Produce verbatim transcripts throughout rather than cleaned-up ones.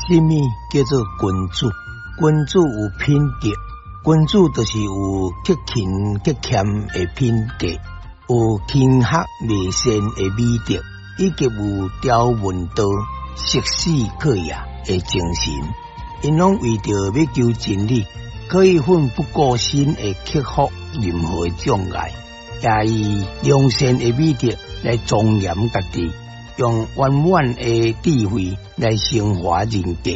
啥物叫做君子？君子有品德，君子就是有克勤克儉的品格，有勤學偽善的美德，以及有朝聞道、夕死可矣的精神。𪜶攏為著欲求真理，可以奮不顧身的克服任何障礙，也以良善的美德來莊嚴家己，用圓滿的智慧來升華人格。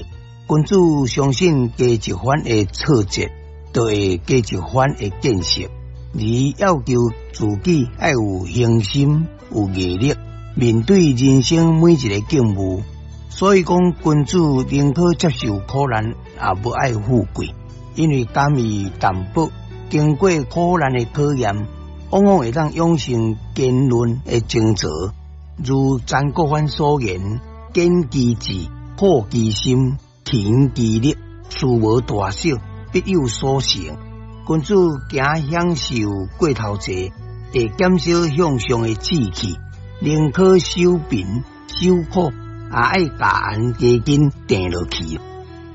君子相信加一番的挫折，就會加一番的見識，而要求自己愛有恆心、有毅力，面對人生每一个境遇。所以講，君子寧可接受苦難，也無愛富貴，因為甘於淡薄。經過苦難的考驗，往往會當養成堅韌的精神。如曾國藩所言：堅其志，厚其心，勤其力，事無大小，必有所成。君子驚享受過頭濟，會減少向上的志氣，寧可守貧守苦，也愛共絚加緊定落去。《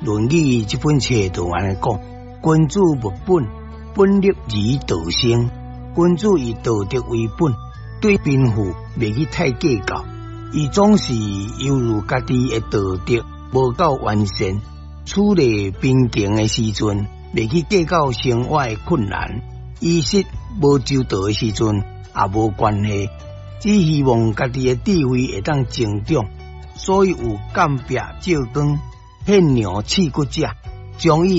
論語》這本冊就按呢講：君子務本，本立而道生。君子以道德為本，對貧富袂去太計較。伊總是猶豫家己的道德無夠完善，處理貧窮的時陣，袂去計較生活的困難；衣食無周到的時陣，也無關係。只希望家己的智慧會當增長，所以有鑑別照光、獻羊刺骨者，將伊。